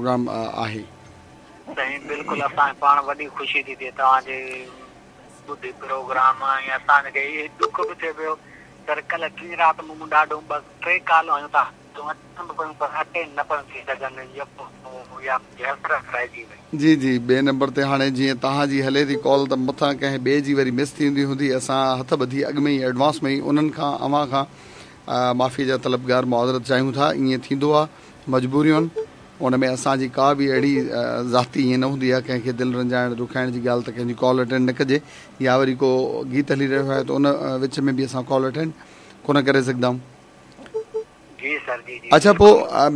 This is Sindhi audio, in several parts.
پروگرام آهي. سائين بلڪل اسان کي پاڻ وڏي خوشي ٿي ٿئي توهان جي ٻڌي پروگرام ۽ اسان کي اهي ڏک به ٿئي پيو سر ڪلهه ٽين رات مون ڏاڍو ٻه ٽي ڪالون هنيون تان اچن به پيون پر اٽينڊ نه پيون ٿي سگهن يڪو يا منهنجي حسرت رهجي وئي. جي جي ٻئي نمبر تي هاڻي جيئن توهان جي هلي ٿي ڪال ته مٿان ڪنهن ٻئي جي وري مس ٿيندي هوندي اسان هٿ ٻڌي اڳ ۾ ئي ايڊوانس ۾ ئي انهن کان اوهان کان معافي جا طلبگار معذرت چاهيون ٿا ائين ٿيندو آ مجبوريون ان ۾ اسان جي ڪا به اهڙي ذاتي ائين نه هوندي آ ڪنهن کي دل رنجائڻ ڏکائڻ جي ڳالهه ته ڪنهن جي ڪال اٽينڊ نه ڪجي يا وري ڪو گيت هلي رهيو آهي ته ان وچ ۾ به اسان ڪال اٽينڊ ڪونه ڪري سگهندا آهيون. جي سر جي جي اڇا پو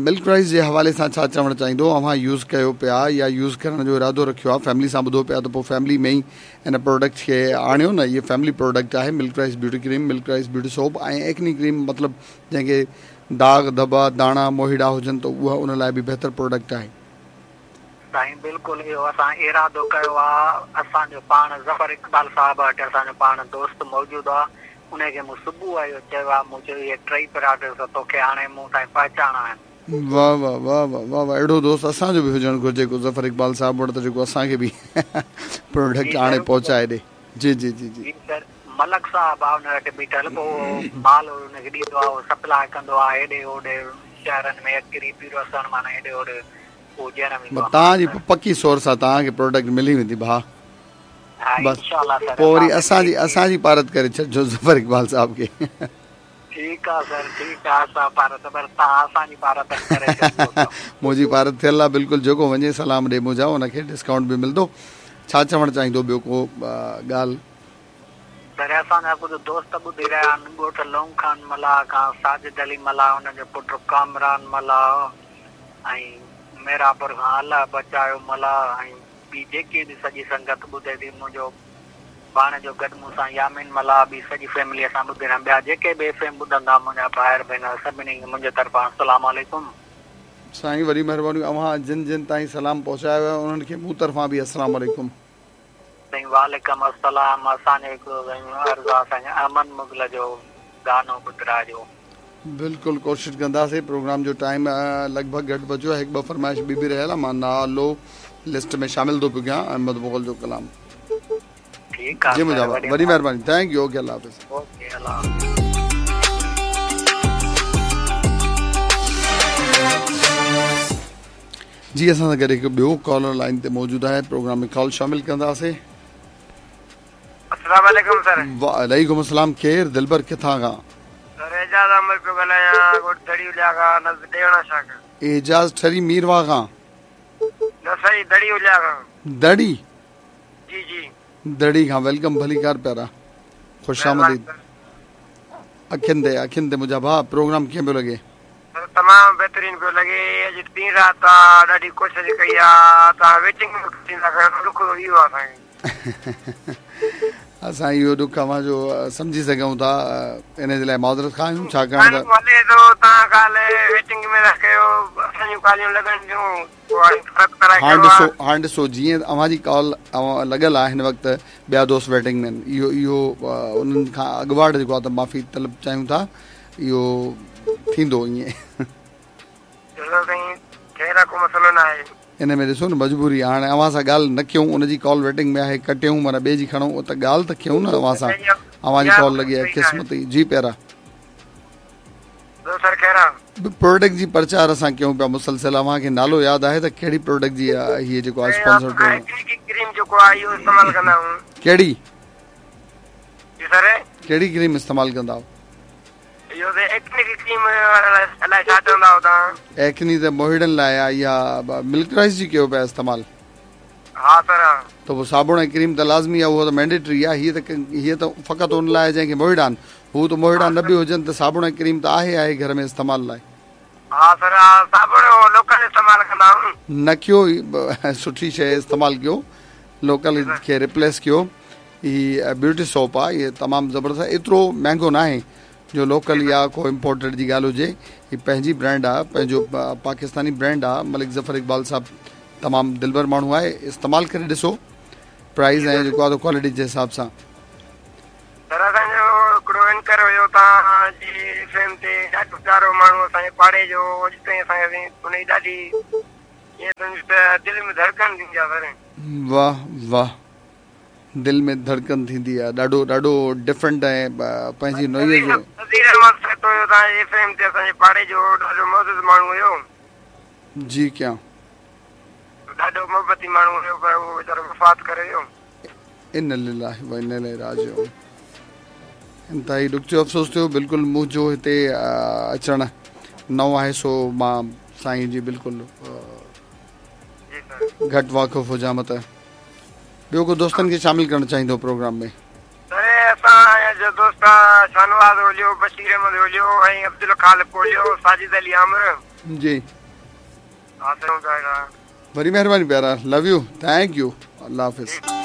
ملڪ رائس جي حوالي سان ڇا چوڻ چاهيندو اوهان يوز ڪيو پيا يا يوز ڪرڻ جو ارادو رکيو آ فيملي سان ٻڌو پيا ته پو فيملي ۾ ئي ان پروڊڪٽ کي آڻيو نه هي فيملي پروڊڪٽ آهي Milk Rice beauty cream Milk Rice beauty soap ۽ acne cream مطلب جنهن کي داغ ڌٻا داڻا موهيڙا هجن ته اها ان لاء به بهتر پروڊڪٽ آهي. سائين بلڪل اهو اسان ارادو ڪيو آ اسان جو پاڻ ظفر اقبال صاحب وٽ اسان جو پاڻ دوست موجود آ انهي کي مون صبح اهو چيو آ مون چيو اهي ٽئي پراڊڪٽس توکي آڻي مون تائين پهچائڻا آهن. واه واه واه واه واه واه اهڙو دوست اسان جو به هجڻ گهرجي ڪو ظفر اقبال صاحب وٽ ته جيڪو اسان کي به جي پروڊڪٽ آڻي سر پهچائي ڏي جي جي جي جي. جي سر ملڪ صاحب آ ان وٽ بيٺل پو مال ان کي ڏيندو آ اهو سپلاء ڪندو آ هيڏي هوڏي شهرن ۾ اڪري پيروسڻ معنيٰ هيڏي هوڏي اهو ڏيڻ ويندو آ مال توهان جي سر. پڪي سورس آ توهان کي پروڊڪٽ ملي ويندي ڀاء. ها بس انشاء الله سر پوء وري اسان اسان کي جي اسان جي پارت ڪري ڇڏجو ظفر اقبال صاحب کي. ٺيڪ آ سر ٺيڪ آ اسان پارت پر توهان اسان جي پارت ڪري ڇڏجو سر. منهنجي پارت ٿيل آ بلڪل جيڪو وڃي سلام ڏي منهنجا ان کي ڊسڪائونٽ به ملندو ڇا چوڻ چاهيندو ٻيو ڪو ڳالهه. سر اسان جا ڪجهه دوست ٻڌي رهيا آهن ڳوٺ لونگ خان ملاح کان ساجد علي ملاح ان جو پٽ ڪامران ملاح ۽ ميرانپور کان الله بچايو ملاح ۽ ٻي جيڪي به سڄي سنگت ٻڌي ٿي منهنجو ڀاڻيجو گڏ مون سان يامين ملاح ٻي سڄي فيملي اسان ٻڌي رهيا ٻيا جيڪي به ايف ايم ٻڌندا منهنجا ڀائر ڀينر سڀني کي منهنجي طرفان السلام عليڪم. سائين وڏي مهرباني اوهان جن جن تائين سلام پهچايو آهي انهن کي مون طرفان به السلام عليڪم. سائين وعليڪم السلام اسان جو هڪڙو سائين عرض آ سائين احمد مغل جو گانو ٻڌراجو. بلڪل ڪوشش ڪنداسين پروگرام جو ٽائيم لڳ ڀڳ گهٽ بچيو آهي هڪ ٻه فرمائش ٻي به رهيل آهي مان نالو لسٽ ۾ شامل ٿو پيو ڪيان احمد مغل جو ڪلام ٺيڪ آ جي منهنجا سر ڀاء وڏي وڏي مهرباني thank you okay Allah Hafiz. Okay Allah Hafiz. جي اسان سان گڏ هڪ ٻيو ڪالر لائين تي موجود آهي پروگرام ۾ ڪال شامل ڪنداسين. السلام عليڪم سر. وعليڪم السلام ڪير دلبر ڪٿان کان. سر اعجاز احمد پيو ڳالهايان ڳوٺ دڙي اليا کان نزد ڏيوڻا شاهه کان. اعجاز ٺري ميرواهه کان. نه سائين دڙي اليا کان. دڙي. جي جي. دڙي کان welcome ڀليڪار پيارا خوش آمديد. اکين تي اکين تي منهنجا ڀاء پروگرام ڪيئن پيو لڳي. سر تمام بهترين پيو لڳي اڄ ڏينهن رات آ ڏاڍي ڪوشش ڪئي آ توهان ويٽنگ ۾ ٿيندا ڪيو ڏک اهو آ اسان کي. اسان اهو ڏک اوهان جو سمجهي سگهون ٿا ان جي لاء معذرت خواهه آهيون ڇاڪاڻ ته. هلي ٿو توهان ڪال ويٽنگ ۾ ٿا ڪيو اسان جون ڪاليون لڳن ٿيون پوء هاڻي فرق ته هاڻ ڏسو هاڻ ڏسو جيئن اوهان جي ڪال لڳل آهي هن وقت ٻيا دوست ويٽنگ ۾ آهن اهو اهو انهن کان اڳواٽ جيڪو آهي ته معافي طلب چاهيون ٿا اهو ٿيندو ائين. ڏسو سائين خير آ ڪو مسئلو نه آهي. ان ۾ ڏسو نه مجبوري آ هاڻي اوهان سان ڳالهه نه ڪيون ان جي ڪال ويٽنگ ۾ آهي ڪٽيون معنيٰ ٻئي جي کڻون ته ڳالهه ته ڪيون نه اوهان سان اوهان جي ڪال لڳي آهي قسمت ئي جي پيارا. ٻيو سر خير آ. پروڊڪٽ جي پرچار اسان ڪيون پيا مسلسل اوهان کي نالو ياد آهي ته ڪهڙي پروڊڪٽ جي هي جيڪو آهي اسپانسرڊ پروگرام. ايڪني ڪريم جيڪو آهي اهو استعمال ڪندا آهيون. ڪهڙي. جي سر. ڪهڙي ڪريم استعمال ڪندا آهيو. اهو ته ايڪني جي ڪريم الائي ڇا چوندا آهيو توهان. ايڪني ته موهيڙن لاء آهي اها ملڪ رائس جي ڪيو پيا استعمال. ها سر ها. ته پوء صابڻ ۽ ڪريم ته لازمي آهي اهو ته مينڊيٽري آهي هيء ته هيء ته فقط ان لاء آهي جنهن کي موهيڙا آهن هو ته موهيڙا نه به هجن ته صابڻ ۽ ڪريم ته آهي آهي گهر ۾ استعمال لاء. ها سر ها صابڻ لوڪل استعمال ڪندا آهيون. نه ڪيو سٺي شيء استعمال ڪيو لوڪل کي ريپليس ڪيو. هي بيوٽي سوپ آ هي تمام زبردست آ ايترو مهنگو ناهي جو لوڪل يا ڪو امپورٽيڊ جي ڳالهه هجي هي پنهنجي برانڊ آ پنهنجو پاڪستاني برانڊ آ ملڪ ظفر اقبال صاحب تمام دلبر ماڻهو آهي استعمال ڪري ڏسو پرائز ۽ جيڪو آ ڪوالٽي جي حساب سان. سر اسان جو هڪڙو اينڪر هيو توهان جي ايف ايم تي ڏاڍو پيارو ماڻهو اسان جي پاڙي جو اڄ تائين اسان کي ان جي ڏاڍي ائين ته ته دل ۾ ڌڙڪن ٿيندي آ سر. واه واه دل ۾ ڌڙڪن ٿيندي آ ڏاڍو ڏاڍو ڊفرنٽ ۽ پنهنجي نوعيت جو. نذير احمد سهتو هيو توهان جي ايف ايم تي اسان جي پاڙي جو ڏاڍو معزز ماڻهو هيو. جي ڪيان. ڏاڍو محبتي ماڻهو هيو پر اهو ويچارو وفات ڪري ويو. انا لله و انا اليه راجعون انتهائي ڏک ٿيو افسوس ٿيو بلڪل منهنجو هتي اچڻ نئون آهي سو مان سائين جي بلڪل گهٽ واقف هجان مت ٻيو ڪو دوستن کي شامل ڪرڻ چاهيندو پروگرام ۾. سر اسان جو دوست شاهنواز اوليو بشير احمد اوليو ۽ عبدالخالق اوليو ساجد علي آمر جي وڏي مهرباني پيارا لو you thank you Allah Hafiz.